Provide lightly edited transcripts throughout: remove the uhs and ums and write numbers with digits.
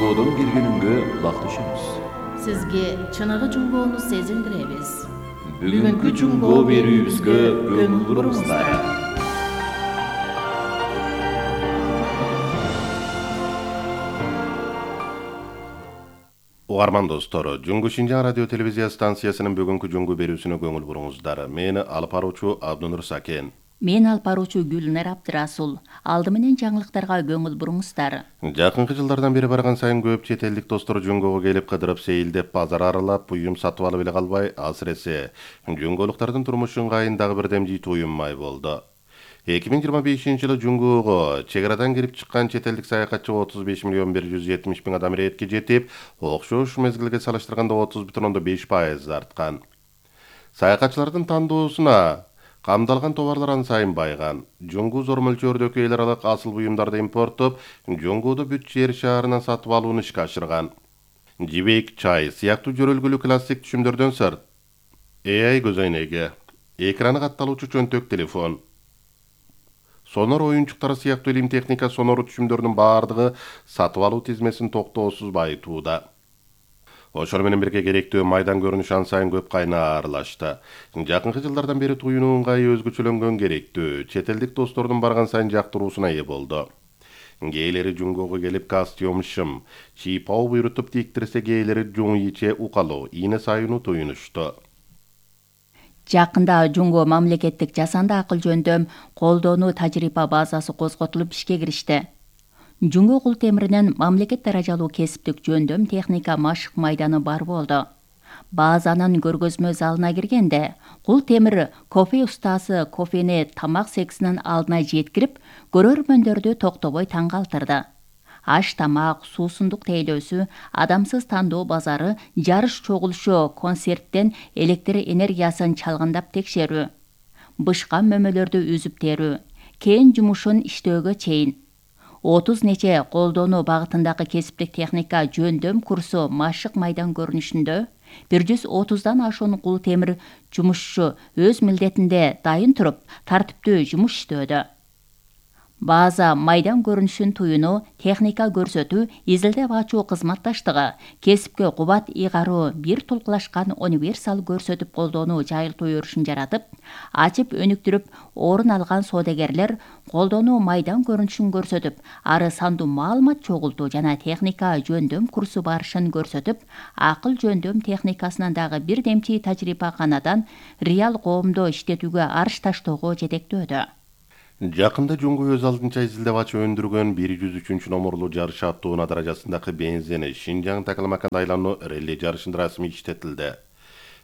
Жумбоодон бир күнүнгө бактышабыз. Сизге чыныгы жумбоону сезиндиребиз. Бүгүнкү жумбоо берүүбүзгө көңүл буруңуздар. Угарман достор, Жунгу Шинжаң радио телевизия станциясынын бүгүнкү жунгу берүүсүнө көңүл буруңуздар. Мени алып баруучу Абдунур Сакен. Мен алып баруучу Гүлнар Абдырасул. Алды менен жаңылыктарга көңүл буруңуздар. Жакынкы жылдардан бери барган сайын көп чет элдик достор Жунгуга келип кыдырып сейилдеп базар аралап, буюм сатып алып эле калбай, асыресе жунгулуктардын турмушу ыңгайын дагы бир демжий туюмай болду. 2025-жылы Жунгуга чек арадан кирип чыккан чет элдик саякатчы 35 миллион 170 миң адам иретке жетип, окшош мезгилге салыштырганда 30,5% арткан. Саякатчылардын тандоосуна камдалган товарлар ан сайын байган. Жунгу зор мөлчөрдөгү эл аралык асыл буюмдарды импорттоп, Жунгуду бүт жер шаарынан сатып алууну ишке ашырган. Жибек, чай сыяктуу жөрөлгүлүү классик түшүмдөрдөн сырт AI көзөйнөгү, экраны катталуучу чөнтөк телефон, сонор оюнчуктары сыяктуу илим техника сонору түшүмдөрдүн баардыгы сатып алуу тизмесин токтоосуз байытууда. Ошол менен бирге керектүү майдан көрүнүш ан сайын көп кайнаарлашты. Жакынкы жылдардан бери туюнуу ыңгайы өзгөчөлөнгөн керектүү, чет элдик достордун барган сайын жактыруусуна ээ болду. Кээйлери Жунгуга келип костюм шым, чийпау буйрутуп тиктирсе, кээйлери жуң иче укалуу, ийне сайынуу туюнушту. Жакында Жунгу мамлекеттик жасанды акыл жөндөм колдонуу тажрыйба базасы козготулуп ишке киришти. Жунгу кул темиринен мамлекет даражалуу кесиптик жөндөм техника машык майданы бар болду. Базанын көргөзмө залына киргенде кул темир кофе устасы кофени тамак сексинин алдына жеткирип, көрөрмөндөрдү токтобой таң калтырды. Аш тамак, суусундук тейлөөсү, адамсыз тандоо базары, жарыш чогулушу, концерттен электр энергиясын чалгындап текшерүү, бышкан мөмөлөрдү үзүп терүү, кен жумушун иштөөгө чейин 30 нече колдонуу багытындагы кесиптик техника жөндөм курсу машык майдан көрүнүшүндө 130дан ашуун кул темир жумушчу өз милдетинде дайын туруп, тартиптүү жумуш иштөөдө. База майдан көрүнүшүн туюну, техника көрсөтүү, изилдеп ачуу кызматташтыгы, кесипке кубат ыйгаруу, бир тулкулашкан универсал көрсөтүп колдонуу жайылтуу өрүшүн жаратып, ачып өнүктүрүп, орун алган соодагерлер колдонуу майдан көрүнүшүн көрсөтүп, ары сандуу маалымат чогултуу жана техника жөндөм курсу барышын көрсөтүп, акыл жөндөм техникасынан дагы бир демчи тажрыйба канадан реал коомдо иштетүүгө арыш таштоого жетектөөдө. Жакында Жунгу өз алдынча изилдеп ачып өндүргөн 103 номерлуу жарыш аттуунаа даражасындагы бензини Шинжаң Такалмакан айлануу релли жарышында расмий иштетилди.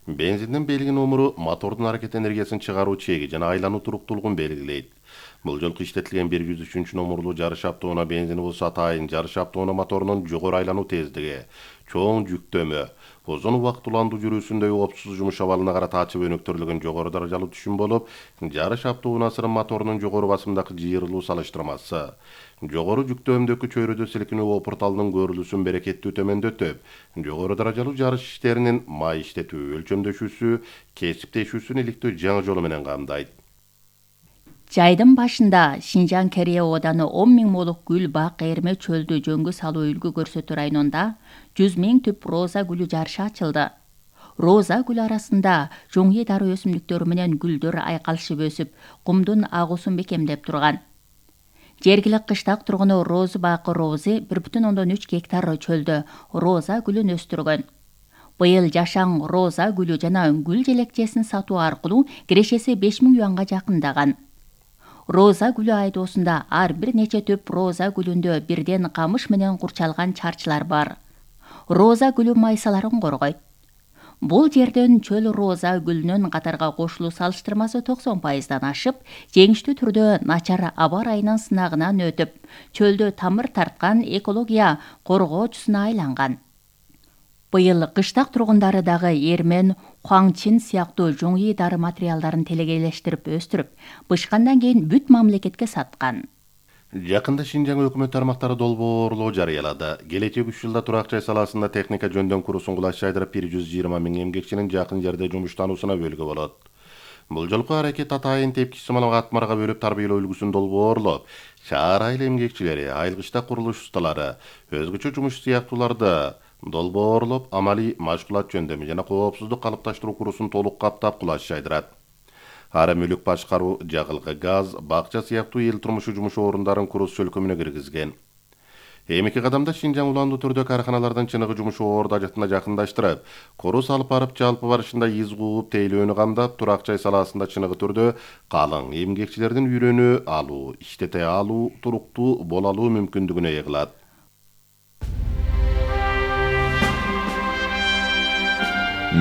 Бензиндин белги номеру мотордун аракет энергиясын чыгаруу чеги жана айлануу туруктуулугун белгилейт. Бул жолку иштетилген 103 номерлуу жарыш аттуунаа бензини болсо атайын жарыш аттуунаа моторунун жогору айлануу тездиги, чоң жүктөмө, узун убакыт уландуу жүрүүсүндө оопсуз жумуш абалына карата ачып өнүктүрүлгөн жогору даражалуу түшүм болуп, жарыш аттуунаасынын моторунун жогору басымдагы жыйырылуу салыштырмасы, жогору жүктөөмдөгү чөйрөдө силкинүү опурталынын көрүлүүсүн берекеттүү төмөндөтүп, жогору даражалуу жарыш иштеринин май иштетүү өлчөмдөшүүсү, кесиптешүүсүн иликтөө жаңы жолу менен камдайт. Жайдын башында Шинжаң Кере ооданы 10 000 молук гүл бак эрме чөлдү жөнгө салуу үлгү көрсөтүү районунда 100 000 түп роза гүлү жарышы ачылды. Роза гүл арасында жоңи дары өсүмдүктөрү менен гүлдөр айкалышып өсүп, кумдун агуусун бекемдеп турган. Жергиликтүү кыштак тургуну Розы бакы Рози 1,3 гектар чөлдө роза гүлүн өстүргөн. Быйыл жашаң роза гүлү жана гүл желекчесин сатуу аркылуу кирешеси 5 000 юанга жакындаган. Роза гүлү айдоосунда ар бир нече түп роза гүлүндө бирден камыш менен курчалган чарчылар бар. Роза гүлү майсаларын коргойт. Бул жерден чөл роза гүлүнүн катарга кошулуу салыштырмасы 90%дан ашып, жеңиштүү түрдө начар аба ырайынын сынагынан өтүп, чөлдө тамыр тарткан экология коргоочусуна айланган. Быйыл кыштак тургундары дагы эрмен, хуаңчин сыяктуу жоңи дары материалдарын телегейлештирип өстүрүп, бышкандан кийин бүт мамлекетке саткан. Жакында Шинжаң өкмөт тармактары долбоорлоо жарыялады. Келечек 3 жылда турак жай саласында техника жөндөм курсун кулаш жайдырып 120 000 эмгекчинин жакын жерде жумуштануусуна бөлгү болот. Бул жолку аракет атайын тепкичи малга атмарга бөлүп тарбиялоо үлгүсүн долбоорлоп, шаар айыл эмгекчилери, айылгычта курулуш усталары, өзгөчө жумуш сыяктууларды долбоорлоп, амалий машгулат жөндөмү жана коопсуздук калыпташтыруу курсун толук каптап кулаш жайдырат. Ары мүлүк башкаруу, жагылгы газ, бакча сыяктуу эл турмушу жумуш орундарын курус чөлкөмүнө киргизген. Эми 2 кадамда Шинжаң уландуу түрдө карханалардын чыныгы жумуш орду ажатына жакындаштырып, курус алып барып жалпы барышында из кууп, тейлөөнү камдап, турак жай салаасында чыныгы түрдө калың эмгекчилердин үйрөнүү алуу, иштете алуу, туруктуу боло алуу мүмкүндүгүнө ээ кылат.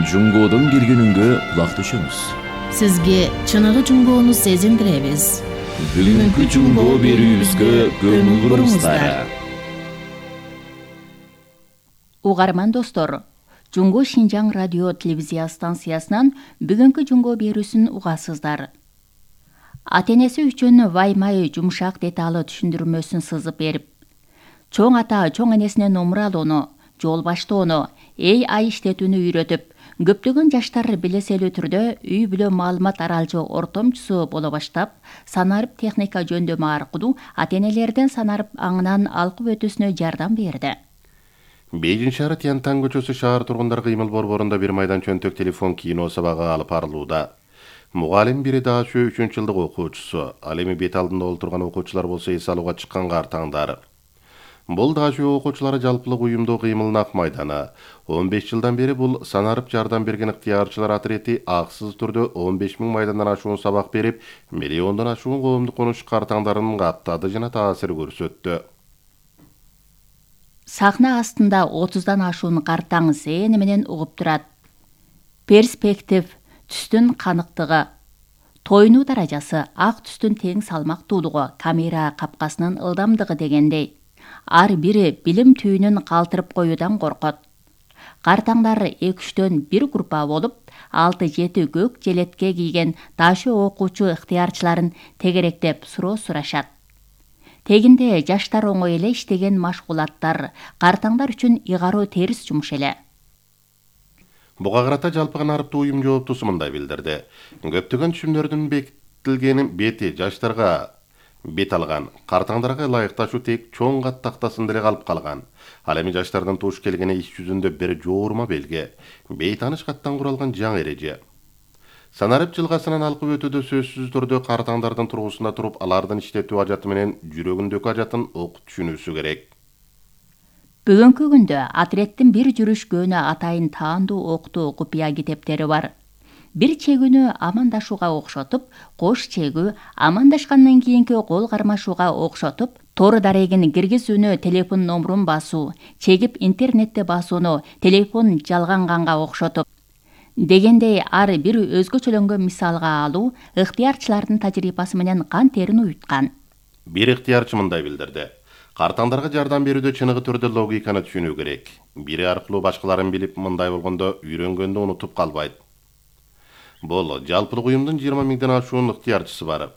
Жунгоодон бир күнүнгө кулак түшөмүз. Сизге чыныгы жунгоону сезиндиребиз. Бүгүнкү жунгоо берүүбүзгө көңүл буруңуздар. Угарман достор, Жунгу Шинжаң радио телевизия станциясынан бүгүнкү жунгоо берүүсүн угасыздар. Ата-энеси үчүн ваймай жумшак деталы түшүндүрмөсүн сызып берип, чоң ата чоң энесине номур алууну, жол баштоону, ай иштетүүнү үйрөтүп, көптөгөн жаштар билеселүү түрдө үй бүлө маалымат аралжоо ортомчусу боло баштап, санарып техника жөндөмү аркылуу ата-энелердин санарып аңынан алкып өтүүсүнө жардам берди. Бейжин шаары Тянтан көчөсү шаар тургундар кыймыл борборунда бир майдан чөнтөк телефон кино сабагы алып барылууда. Мугалим бири дашы 3-жылдык окуучусу, ал эми бет алдында олтурган окуучулар болсо эс алууга чыккан картаңдар. Бул дашы окуучулары жалпылык уюмдуу кыймылын ак майданы. 15 жылдан бери бул санарып жардам берген ыктыярчылар атрети аксыз түрдө 15 000 майдандан ашуун сабак берип, миллиондон ашуун коомдук конуш картаңдарын каттады жана таасир көрсөттү. Сахна астында 30дан ашуун картаң зээни менен угуп турат. Перспектив, түстүн каныктыгы, тойнуу даражасы, ак түстүн тең салмактуулугу, камера капкасынын ылдамдыгы дегендей. Ар бири билим түйүнүн калтырып коюудан коркот. Картаңдар 2-3төн бир группа болуп, 6-7 көк желетке кийген дашы окуучу ыктыярчыларын тегеректеп суроо сурашат. Тегинде жаштар оңой эле иштеген машгулаттар, картаңдар үчүн ыйгаруу терс жумуш эле. Буга карата жалпы канарыптуу уюм жооптусу мындай билдирди. Көптөгөн түшүмдөрдүн бекитилгени бети жаштарга бет алган, картаңдарга ылайыкташуу тек чоң кат тактасында эле калып калган. Ал эми жаштардын туш келгени иш жүзүндө бир жоорма белге, бейтаныш каттан куралган жаңы эреже. Санарып жылгасынан алкып өтүүдө сөзсүз түрдө картаңдардын тургусунда туруп, алардын иштетүү ажаты менен жүрөгүндөгү ажатын окуп түшүнүүсү керек. Бүгүнкү күндө атреттин бир жүрүшкөнү атайын таандуу октуу купуя китептери бар. Бир чегүүнү амандашууга окшотуп, кош чегүү, амандашкандан кийинки кол кармашууга окшотуп, тор дарегин киргизүүнү телефон номурун басуу, чегип интернетте басууну телефон жалганганга окшотуп, дегендей ар бир өзгөчөлөнгөн мисалга алуу ыктыярчылардын тажрыйбасы менен кан терин уюткан. Бир ыктыярчы мындай билдирди. Картаңдарга жардам берүүдө чыныгы түрдө логиканы түшүнүү керек. Бири аркылуу башкаларын билип, мындай болгондо үйрөнгөндө унутуп калбайт. Бул жалпылык уюмдун 20 000ден ашуун ыктыярчысы бар.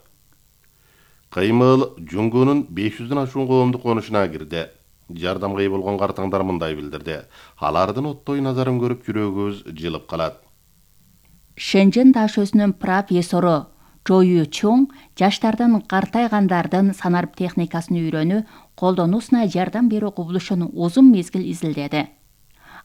Кыймыл Жунгунун 500дөн ашуун коомдук конушуна кирди. Жардамга ээ болгон картаңдар мындай билдирди. Алардын оттой назарын көрүп жүрөгүбүз жылып калат. Шэньчжэн дашөсүнүн профессору Чо Ю Чоң жаштардын картайгандардын санарып техникасын үйрөнүү, колдонуусуна жардам берүү кубулушун узун мезгил изилдеди.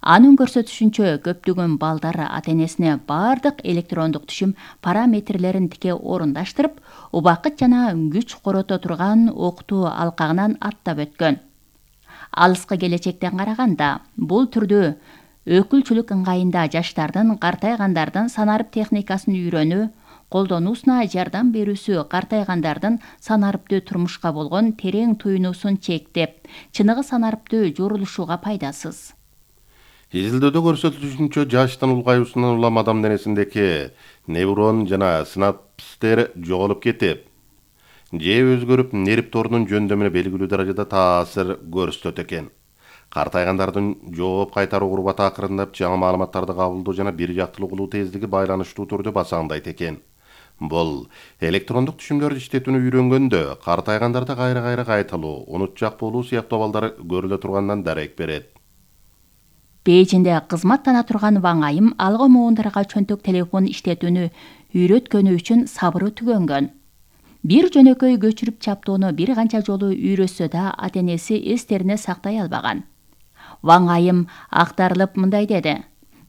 Анын көрсөтүшүнчө көптөгөн балдар ата-энесине бардык электрондук түшүм параметрлерин тике орундаштырып, убакыт жана күч корото турган окутуу алкагынан аттап өткөн. Алыскы келечектен караганда, бул түрдүү өкүлчүлүк ыңгайында жаштардын картайгандардын санарып техникасын үйрөнүү, колдонуусуна жардам берүүсү картайгандардын санарыптуу турмушка болгон терең туюнуусун чектеп, чыныгы санарыптуу жорулушууга пайдасыз. Изилдөөдө көрсөтүлүшүнчө жаштын улгаюусунан улам адам денесиндеги неврон жана синапстер жоголуп кетип, же өзгөрүп нерв торунун жөндөмүнө белгилүү даражада таасир көрсөтөт экен. Картайгандардын жооп кайтаруу курбаты акырындап жаңы маалыматтарды кабылдоо жана бир жактылык улуу тездиги байланыштуу түрдө басаңдайт экен. Бул электрондук түшүмдөрдү иштетүүнү үйрөнгөндө картайгандарда кайра кайталуу, унутчак болуу сыяктуу абалдар көрүлө тургандан дарек берет. Бейжинде кызматтана турган Ваң Айым алгы моундарга чөнтөк телефон иштетүүнү үйрөткөнү үчүн сабыры түгөнгөн. Бир жөнөкөй көчүрүп чаптоону бир канча жолу үйрөтсө да ата энеси эстерине сактай албаган. Ваң Айым актарылып мындай деди: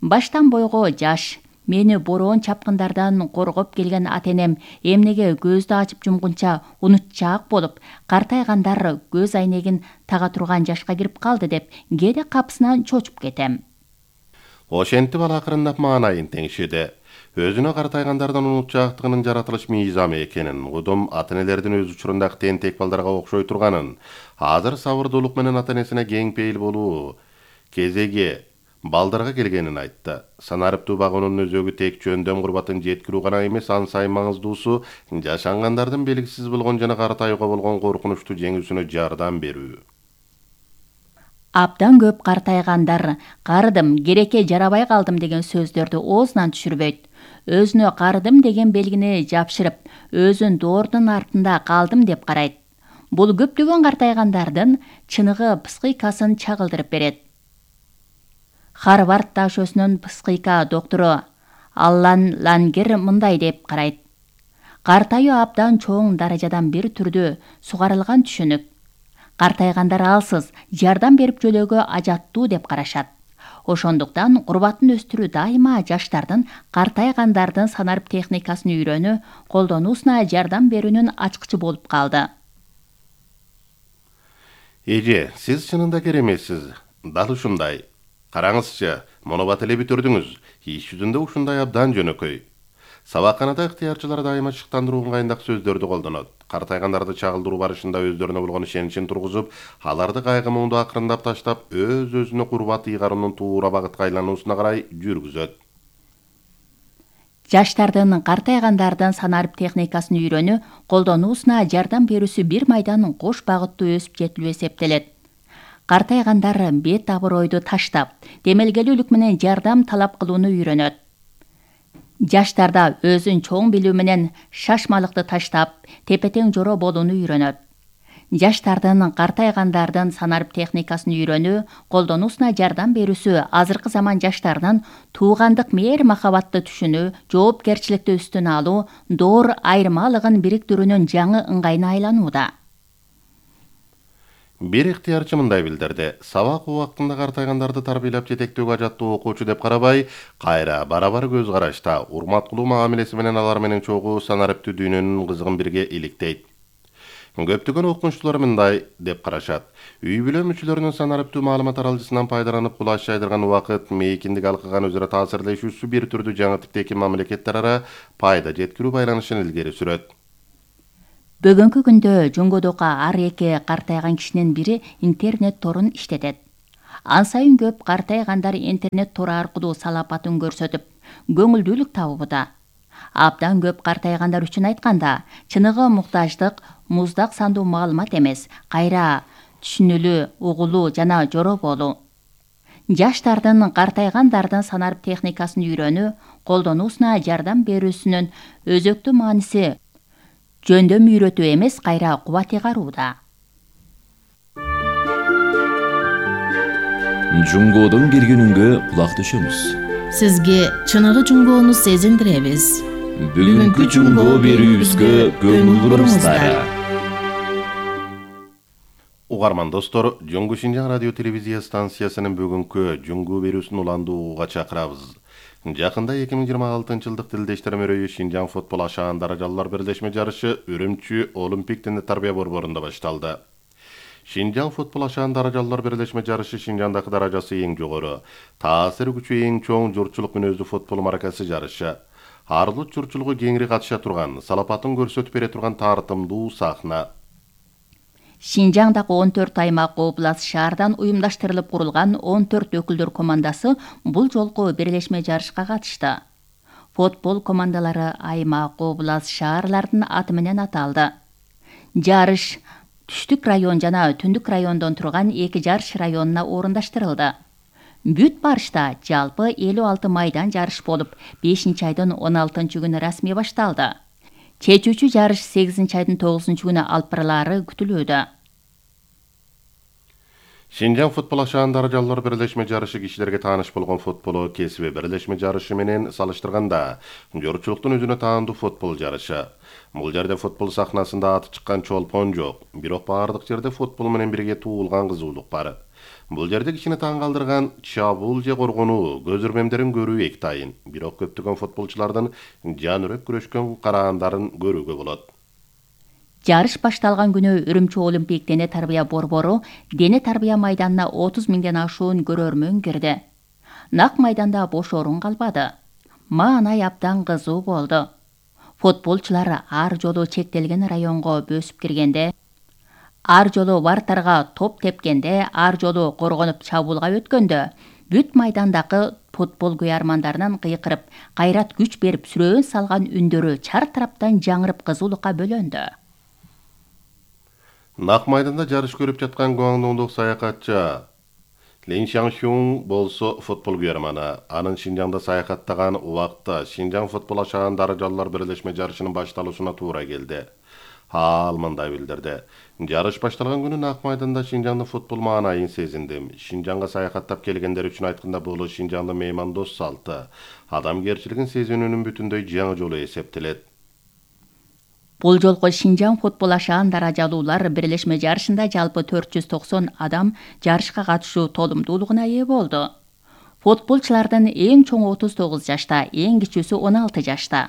"Баштан бойго жаш, мени бороон чапкындардан коргоп келген ата энем эмнеге көздү ачып жумгунча унутчаак болуп, картайгандар көз айнегин тага турган жашка кирип калды деп кээде капысынан чочуп кетем." Ошентип ал акырындап маанайын теңшеди. Өзүнө картайгандардан унутчаактыгынын жаратылыш мыйзамы экенин, кудум ата энелердин өз учурундагы тентек балдарга окшой турганын, азыр сабырдуулук менен ата энесине кең пейил болуу кезеги балдарга келгенин айтты. Санариптүү багуунун өзөгү тек жөндөм курбатын жеткирүү гана эмес, ан сайын маңыздуусу жашангандардын белгисиз болгон жана картаюуга болгон коркунучту жеңүүсүнө жардам берүү. Абдан көп картайгандар "карыдым, керекке жарабай калдым" деген сөздөрдү оозунан түшүрбөйт. Өзүнө карыдым деген белгини жапшырып, өзүн доордун артында калдым деп карайт. Бул көптөгөн картайгандардын чыныгы психикасын чагылдырып берет. Харвард дашөсүнүн психика доктору Аллан Лангер мындай деп карайт: "Картаюу абдан чоң даражадан бир түрдүү сугарылган түшүнүк. Картайгандар алсыз, жардам берип жөлөөгө ажаттуу деп карашат. Ошондуктан курбатын өстүрүү дайыма жаштардын картайгандардын санарип техникасын үйрөнүү, колдонуусуна жардам берүүнүн ачкычы болуп калды." Эже, сиз чынында кереметсиз. Дал ушундай. Караңызчы, муну бат эле бүтүрдүңүз. Иш жүзүндө ушундай абдан жөнөкөй. Сабакканада ыктыярчылар дайыма шыктандыруу ыңгайындагы сөздөрдү колдонот. Картайгандарды чагылдыруу барышында өздөрүнө болгон ишеничин тургузуп, аларды кайгы муңду акырындап таштап, өз-өзүнө курбат ыйгаруунун туура багытка айлануусуна карай жүргүзөт. Жаштардын картайгандардын санарип техникасын үйрөнүү, колдонуусуна жардам берүүсү бир майдан кош багыттуу өсүп жетилүү эсептелет. Картайгандар бет абыройду таштап, демелгелүүлүк менен жардам талап кылууну үйрөнөт. Жаштарда өзүн чоң билүү менен шашмалыкты таштап, тепе-тең жоро болууну үйрөнөт. Жаштардын картайгандардын санарип техникасын үйрөнүү, колдонуусуна жардам берүүсү азыркы заман жаштарынын туугандык мээр махабатты түшүнүү, жоопкерчиликти үстүнө алуу, доор айырмалыгын бириктирүүнүн жаңы ыңгайына айланууда. Бир ыктыярчы мындай билдирди: "Сабак убактында картайгандарды тарбиялап жетектөөгө ажаттуу окуучу деп карабай, кайра барабар көз карашта, урмат кылуу мамилеси менен алар менен чогуу санариптүү дүйнөнүн кызыгын бирге иликтейт." Көптөгөн окумуштуулар мындай деп карашат: үй бүлө мүчөлөрүнүн санариптүү маалымат аралжысынан пайдаланып кулаш жайдырган убакыт, мейкиндик алкыган өзара таасирлешүүсү бир түрдүү жаңы типтеги мамлекеттер ара пайда жеткирүү байланышын илгери сүрөт. Бүгүнкү күндө Жунгодогу ар эки картайган кишинин бири интернет торун иштетет. Ан сайын көп картайгандар интернет тору аркылуу салапатын көрсөтүп, көңүлдүүлүк табууда. Абдан көп картайгандар үчүн айтканда, чыныгы муктаждык муздак сандуу маалымат эмес, кайра түшүнүлүү, угулуу жана жоро болуу. Жаштардын картайгандардын санарип техникасын үйрөнүү, колдонуусуна жардам берүүсүнүн өзөктүү мааниси жөндөм үйрөтүү эмес, кайра кубат ыйгарууда. Жунгодон киргенүнгө кулак түшөңүз. Сизге чыныгы жунгоону сезиндиребиз. Бүгүнкү жунгоо берүүбүзгө көңүл буруңуздар. Угарман достор, Жоңгу Шинжаң радио телевизия станциясынын бүгүнкү жунгуу берүүсүн уландуу угууга чакырабыз. Жакында 2026-жылдык тилдештер мөрөйү Шинжаң футбол ашаан даражалуулар бирлешме жарышы Үрүмчү Олимпик Дене Тарбия борборунда башталды. Шинжаң футбол ашаан даражалуулар бирлешме жарышы Шинжаңдагы даражасы эң жогору, таасир күчү эң чоң журтчулук мүнөздүү футбол маркасы жарышы. Арлык журтчулугу кеңири катыша турган, салапатын көрсөтүп бере турган тартымдуу сахна. Шинжаңдагы 14 аймак област шаардан уюмдаштырылып курулган 14 өкүлдөр командасы бул жолку бирлешме жарышка катышты. Футбол командалары аймак, област шаарлардын аты менен аталды. Жарыш Түштүк район жана Түндүк райондон турган эки жарыш районуна орундаштырылды. Бүт барышта жалпы 56 майдан жарыш болуп, 5-айдын 16-күнү расмий башталды. Чечүүчү жарыш 8-айдын 9-күнү алып барылаары күтүлүүдө. Шинжаң футбол ашаан даражалар бирлешме жарышы кишилерге тааныш болгон футбол кесиби бирлешме жарышы менен салыштырганда жоручулуктун өзүнө таандуу футбол жарышы. Бул жерде футбол сахнасында аты чыккан чолпон жок, бирок бардык жерде футбол менен бирге туулган кызуулук бар. Бул жерде кишини таң калтырган чабуул же коргонуу, көз ирмемдерин көрүү эки тайын, бирок көптөгөн футболчулардын жан үрөк күрөшкөн караандарын көрүүгө болот. Жарыш башталган күнү Үрүмчү Олимпик дене тарбия борбору дене тарбия майданына 30 миңден ашуун көрөрмөн кирди. Нак майданда бош орун калбады. Маанай абдан кызуу болду. Футболчулар ар жолу чектелген районго бөсүп киргенде, ар жолу вартарга топ тепкенде, ар жолу коргонуп чабуулга өткөндө, бүт майдандагы футбол күйөрмандарынан кыйкырып, кайрат күч берип сүрөөн салган үндөрү чар тараптан жаңырып кызуулукка бөлөндү. Нак майданда жарыш көрүп жаткан гуаңдоңдук саякатчы Лин Шаңшуң болсо футбол күйөрманы. Анын Шинжаңда саякаттаган убакта Шинжаң футбол ашаан даражалар бирлешме жарышынын башталуусуна туура келди. Ал мындай билдирди. Жарыш башталган күнү Нак майданда Шинжаңдын футбол маанайын сезиндим. Шинжаңга саякаттап келгендер үчүн айтканда бул Шинжаңдын меймандос салты, адамгерчилигин сезүүнүн бүтүндөй жаңы жолу эсептелет. Бул жолку Шинжаң футбол ашаан даражалуулар бирлешме жарышында жалпы 490 адам жарышка катышуу толумдуулугуна ээ болду. Футболчулардын эң чоңу 39 жашта, эң кичүүсү 16 жашта.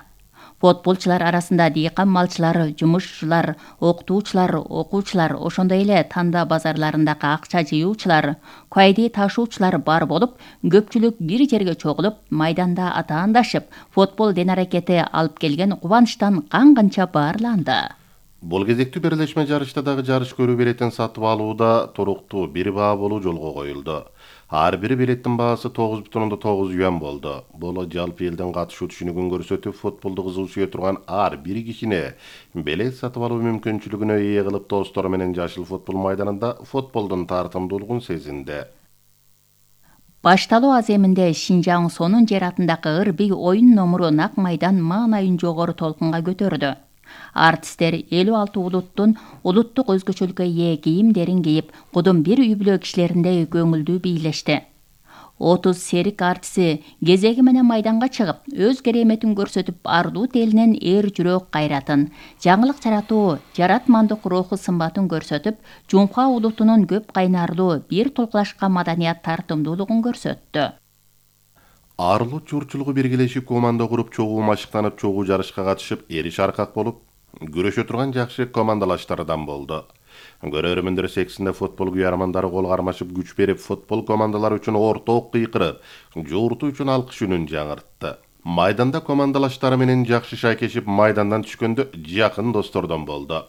Футболчулар арасында дыйкан малчылар, жумушчулар, окутуучулар, окуучулар, ошондой эле танда базарларындагы акча жыюучулар, кайди ташуучулар бар болуп, көпчүлүк бир жерге чогулуп, майданда атаандашып, футбол ден аракети алып келген кубанычтан кан-канча баарланды. Бул кезектүү бирлешме жарышта дагы жарыш көрүү билетин сатып алууда туруктуу бир баа болуу жолго коюлду. Ар бир билеттин баасы 9,9 юан болду. Бул жалпы элдин катышуу түшүнүгүн көрсөтүп, футболду кызуу сүйө турган ар бир кишине билет сатып алуу мүмкүнчүлүгүнө ээ кылып, достору менен жашыл футбол майданында футболдун тартымдуулугун сезинди. Башталуу аземинде Шинжаң сонун жер атындагы ырбий оюн номуру Нак майдан маанайын жогору толкунга көтөрдү. Артисттер 56 улуттун улуттук өзгөчөлүккө ээ кийимдерин кийип, кудум бир үй бүлө кишилериндей көңүлдүү бийлешти. 30 серик артисти кезеги менен майданга чыгып, өз кереметин көрсөтүп, ардуу телинен эр жүрөк кайратын, жаңылык жаратуу, жаратмандык руху сымбатын көрсөтүп, Жумха улутунун көп кайнарлуу, бир толкулашкан маданият тартымдуулугун көрсөттү. Ар улут журчулугу биргелешип команда куруп, чогуу машыктанып, чогуу жарышка катышып, эриш аркак болуп, күрөшө турган жакшы командалаштардан болду. Көрөрмөндөр сексинде футбол күйөрмандары кол кармашып, күч берип, футбол командалары үчүн орток кыйкырып, жууртуу үчүн алкыш үнүн жаңыртты. Майданда командалаштары менен жакшы шайкешип, майдандан түшкөндө жакын достордон болду.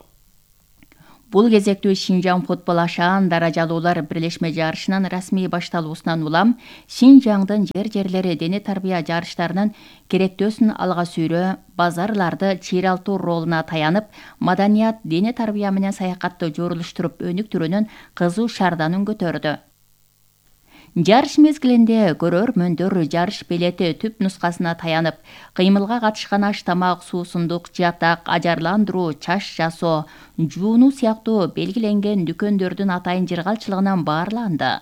Бул кезектүү Шинжаң футбол ашаан даражалуулар бирлешме жарышынын расмий башталуусунан улам Шинжаңдын жер-жерлери дене тарбия жарыштарынын керектөөсүн алга сүйрөө, базарларды чыйралтуу ролуна таянып, маданият, дене тарбия менен саякатты жорулуштуруп өнүктүрүүнүн кызуу шарданын көтөрдү. Жарыш мезгилинде көрөрмөндөр жарыш билети түп нускасына таянып, кыймылга катышкан аш тамак, суусундук, жатак, ажарландыруу, чач жасоо, жуунуу сыяктуу белгиленген дүкөндөрдүн атайын жыргалчылыгынан баарланды.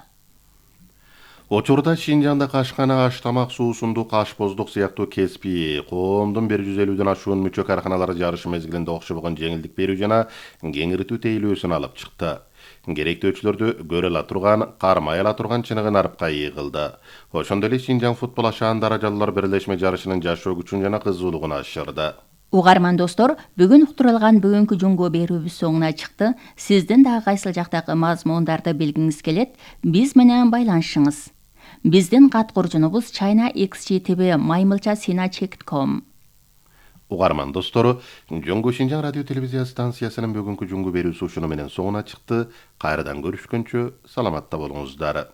Учурда Шинжаңда кашкана, аш тамак, суусундук, ашпоздук сыяктуу кеспи, коомдун 150ден ашуун мүчө карканалары жарыш мезгилинде окшобогон жеңилдик берүү жана кеңиртүү тейлөөсүн алып чыкты. Керектөөчүлөрдү көрө ала турган, кармай ала турган чыныгы нарыпка ээ кылды. Ошондой эле Шинжаң футбол ашаан даражалар бирлешме жарышынын жашоо күчүн жана кызуулугун ашырды. Угарман достор, бүгүн уктурулган бүгүнкү жунго берүүбүз соңуна чыкты. Сиздин дагы кайсыл жактагы мазмундарды билгиңиз келет, биз менен байланышыңыз. Биздин кат куржунубуз china.xgtv@maymilcha.sina.com. Угарман достору, Жөнгө Шинжаң радио телевизия станциясынын бүгүнкү жунго берүүсү ушуну менен соңуна чыкты. Кайрадан көрүшкөнчө саламатта болуңуздар.